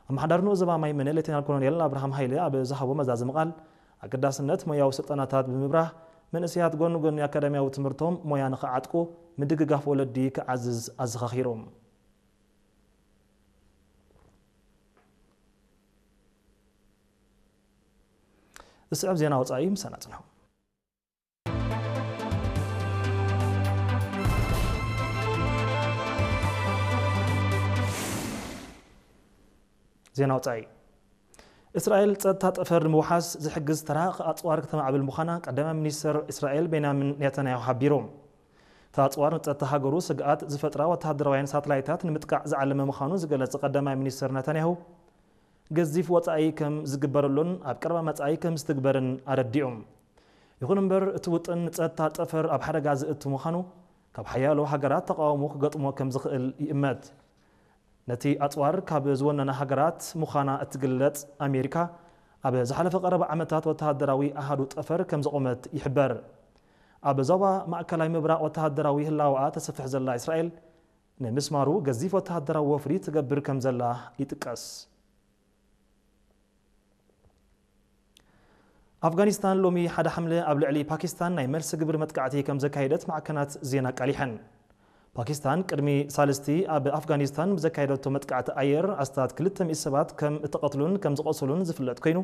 ኣመሓዳሪ ንኡስ ዞባ ማይመነ ሌተናል ኮሎኔል ኣብርሃም ሃይለ ኣብ ዝሃቦ መዛዘሚ ቃል፣ ኣገዳስነት ሞያዊ ስልጠናታት ብምብራህ፣ መንእሰያት ጎኒ ጎኒ ኣካዳሚያዊ ትምህርቶም ሞያ ንኽዓጥቁ ምድግጋፍ ወለዲ ክዓዝዝ ኣዘኻኺሩ። ዝስዕብ ዜና ወጻኢ ምሳና ጽንሑ። ዜና ወጻኢ። እስራኤል ጸጥታ ጠፈር ንምውሓስ ዝሕግዝ ተራቕ ኣጽዋር ክተማዕብል ምዃና ቀዳማይ ሚኒስትር እስራኤል ቤንያሚን ኔታንያሁ ሓቢሩ። እቲ ኣጽዋር ንጸጥታ ሃገሩ ስግኣት ዝፈጥራ ወተሃደራውያን ሳተላይታት ንምጥቃዕ ዝዓለመ ምዃኑ ዝገለጸ ቀዳማይ ሚኒስትር ኔታንያሁ፣ ገዚፍ ወጻኢ ከም ዝግበረሉን ኣብ ቀረባ መጻኢ ከም ዝትግበርን ኣረዲኡ። ይኹን እምበር፣ እቲ ውጥን ንጸጥታ ጠፈር ኣብ ሓደጋ ዘእቱ ምዃኑ፣ ካብ ሓያሎ ሃገራት ተቓውሞ ክገጥሞ ከም ዝኽእል ይእመት። ነቲ ኣጽዋር ካብ ዝወነና ሃገራት ምዃና እትግለጽ ኣሜሪካ፣ ኣብ ዝሓለፈ ቀረባ ዓመታት ወተሃደራዊ ኣሃዱ ጠፈር ከም ዘቖመት ይሕበር። ኣብ ዞባ ማእከላይ ምብራቕ ወተሃደራዊ ህላወኣ ተሰፍሕ ዘላ እስራኤል፣ ንምስማሩ ገዚፍ ወተሃደራዊ ወፍሪ ትገብር ከም ዘላ ይጥቀስ። ኣፍጋኒስታን ሎሚ ሓደ ሓምለ ኣብ ልዕሊ ፓኪስታን ናይ መልሲ ግብሪ መጥቃዕቲ ከም ዘካየደት ማዕከናት ዜና ኣቃሊሐን። ፓኪስታን ቅድሚ ሳልስቲ ኣብ ኣፍጋኒስታን ብዘካየደቶ መጥቃዕቲ ኣየር ኣስታት ክልተ ሚእቲ ሰባት ከም እተቐትሉን ከም ዝቖሰሉን ዝፍለጥ ኮይኑ፣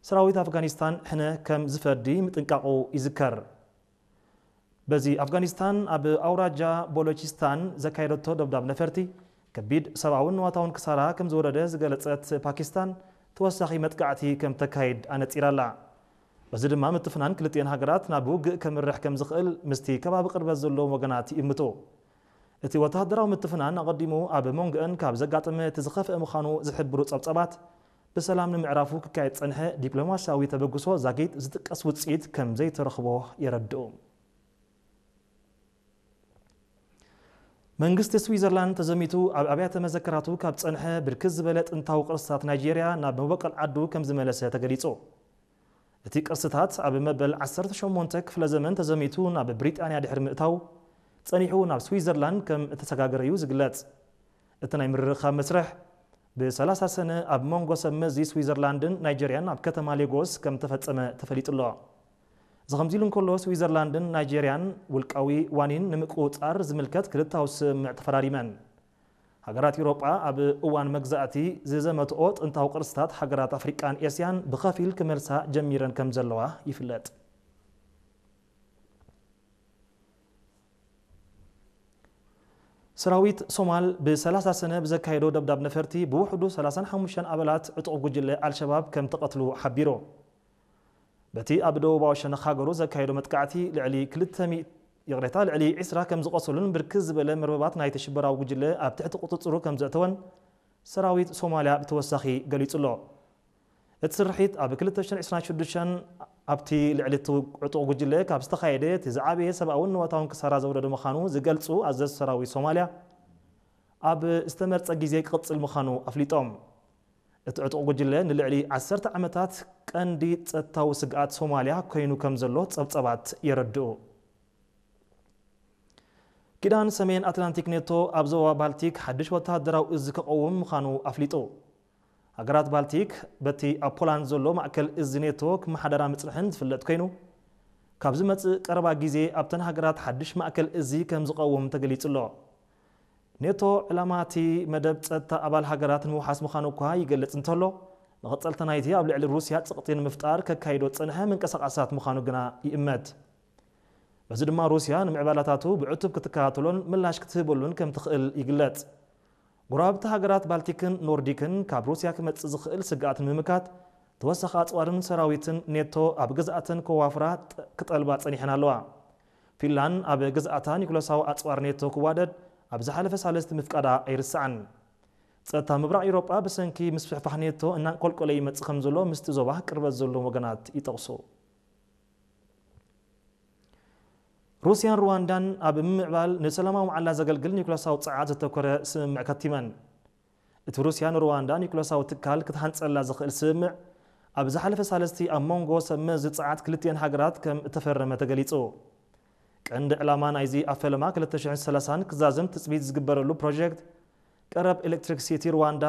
ሰራዊት ኣፍጋኒስታን ሕነ ከም ዝፈዲ ምጥንቃቑ ይዝከር። በዚ ኣፍጋኒስታን ኣብ ኣውራጃ ቦሎቺስታን ዘካየደቶ ደብዳብ ነፈርቲ፣ ከቢድ ሰብኣውን ንዋታውን ክሳራ ከም ዝወረደ ዝገለጸት ፓኪስታን፣ ተወሳኺ መጥቃዕቲ ከም ተካይድ ኣነጺራላ። በዚ ድማ ምትፍናን ክልቲኤን ሃገራት ናብ ውግእ ከምርሕ ከም ዝኽእል ምስቲ ከባቢ ቅርበት ዘለዎም ወገናት ይእምቱ። እቲ ወተሃደራዊ ምትፍናን ኣቐዲሙ ኣብ መንጎአን ካብ ዘጋጠመ እቲ ዝኸፍአ ምዃኑ ዝሕብሩ ጸብጸባት፣ ብሰላም ንምዕራፉ ክካየድ ጸንሐ ዲፕሎማስያዊ ተበግሶ ዛጊት ዝጥቀስ ውጽኢት ከም ዘይተረኽቦ የረድኡ። መንግስቲ ስዊዘርላንድ ተዘሚቱ ኣብ ኣብያተ መዘክራቱ ካብ ጸንሐ ብርክት ዝበለ ጥንታዊ ቅርስታት ናይጄርያ ናብ መበቆል ዓዱ ከም ዝመለሰ ተገሊጹ። እቲ ቅርስታት ኣብ መበል ዓሰርተ ሸሞንተ ክፍለ ዘመን ተዘሚቱ ናብ ብሪጣንያ ድሕሪ ምእታው፣ ጸኒሑ ናብ ስዊዘርላንድ ከም እተሰጋገረ እዩ ዝግለጽ። እቲ ናይ ምርርኻብ መስርሕ፣ ብሰላሳ ሰነ ኣብ መንጎ ሰብ መዚ ስዊዘርላንድን ናይጀርያን ኣብ ከተማ ሌጎስ ከም ተፈጸመ ተፈሊጡ ኣሎ። እዚ ከምዚ ኢሉ እንከሎ፣ ስዊዘርላንድን ናይጀርያን ውልቃዊ ዋኒን ንምቁጽጻር ዝምልከት ክልታዊ ስምምዕ ተፈራሪመን። ሃገራት ኤውሮጳ ኣብ እዋን መግዛእቲ ዝዘመትኦ ጥንታዊ ቅርስታት ሃገራት ኣፍሪቃን ኤስያን ብኸፊል ክመልሳ ጀሚረን ከም ዘለዋ ይፍለጥ። ሰራዊት ሶማል ብሰላሳ ሰነ ብዘካየዶ ደብዳብ ነፈርቲ ብውሕዱ ሰላሳን ሓሙሽተን ኣባላት ዕጡቕ ጉጅለ ኣልሸባብ ከም ተቐትሉ ሓቢሩ። በቲ ኣብ ደቡባዊ ሸነኽ ሃገሩ ዘካየዶ መጥቃዕቲ ልዕሊ ክልተ ሚእቲ፣ ይቕሬታ፣ ልዕሊ ዕስራ ከም ዝቖሰሉን ብርክት ዝበለ መርበባት ናይቲ ሽበራዊ ጉጅለ ኣብ ትሕቲ ቁጽጽሩ ከም ዘእተወን ሰራዊት ሶማልያ ብተወሳኺ ገሊጹ ኣሎ። እቲ ስርሒት ኣብ ክልተ ሽሕን ዕስራን ሽዱሽተን ኣብቲ ልዕሊ እቲ ዕጡቕ ጉጅለ ካብ ዝተኻየደ እቲ ዝዓበየ ሰብኣውን ንዋታውን ክሳራ ዘውረደ ምዃኑ ዝገልጹ ኣዘዝቲ ሰራዊት ሶማልያ፣ ኣብ ዝተመርጸ ግዜ ክቕጽል ምዃኑ ኣፍሊጦም። እቲ ዕጡቕ ጉጅለ ንልዕሊ ዓሰርተ ዓመታት ቀንዲ ጸጥታዊ ስግኣት ሶማልያ ኮይኑ ከም ዘሎ ጸብጸባት የረድኡ። ኪዳን ሰሜን ኣትላንቲክ ኔቶ ኣብ ዞባ ባልቲክ ሓድሽ ወተሃደራዊ እዝ ክቐውም ምዃኑ ኣፍሊጡ። ሃገራት ባልቲክ በቲ ኣብ ፖላንድ ዘሎ ማእከል እዝ ኔቶ ክመሓደራ ምጽንሐን ዝፍለጥ ኮይኑ፣ ካብ ዝመጽእ ቀረባ ግዜ ኣብተን ሃገራት ሓድሽ ማእከል እዝ ከም ዝቐውም ተገሊጹ ኣሎ። ኔቶ ዕላማ እቲ መደብ ጸጥታ ኣባል ሃገራት ንምውሓስ ምዃኑ እኳ ይገልጽ እንተሎ፣ መቐጸልታ ናይቲ ኣብ ልዕሊ ሩስያ ጽቕጢ ንምፍጣር ከካይዶ ዝጸንሐ ምንቅስቓሳት ምዃኑ ግና ይእመት። በዚ ድማ ሩስያ ንምዕባላታቱ ብዕቱብ ክትከታተሎን ምላሽ ክትህበሉን ከም ትኽእል ይግለጽ። ጎረባብቲ ሃገራት ባልቲክን ኖርዲክን ካብ ሩስያ ክመጽእ ዝኽእል ስግኣት ንምምካት፣ ተወሳኺ ኣጽዋርን ሰራዊትን ኔቶ ኣብ ግዝኣተን ከዋፍራ ጥ-፣ ክጠልባ ጸኒሐን ኣለዋ። ፊንላንድ ኣብ ግዝኣታ ኒኩለሳዊ ኣጽዋር ኔቶ ክዋደድ ኣብ ዝሓለፈ ሳልስቲ ምፍቃዳ ኣይርሳዕን። ጸጥታ ምብራቕ ኤውሮጳ ብሰንኪ ምስፍሕፋሕ ኔቶ እናንቆልቆለ ይመጽእ ከም ዘሎ ምስቲ ዞባ ቅርበት ዘለዎም ወገናት ይጠቕሱ። ሩስያን ሩዋንዳን ኣብ ምምዕባል ንሰላማዊ መዓላ ዘገልግል ኒኩለሳዊ ጸዓት ዘተኮረ ስምምዕ ከቲመን። እቲ ሩስያ ንሩዋንዳ ኒኩለሳዊ ትካል ክትሃንጸላ ዝኽእል ስምምዕ፣ ኣብ ዝሓለፈ ሳልስቲ ኣብ መንጎ ሰብ መዚ ጸዓት ክልቲኤን ሃገራት ከም እተፈረመ ተገሊጹ። ቀንዲ ዕላማ ናይዚ ኣብ ፈለማ ክልተ ሽሕን ሰላሳን ክዛዘም ትጽቢት ዝግበረሉ ፕሮጀክት፣ ቀረብ ኤሌክትሪክሲቲ ሩዋንዳ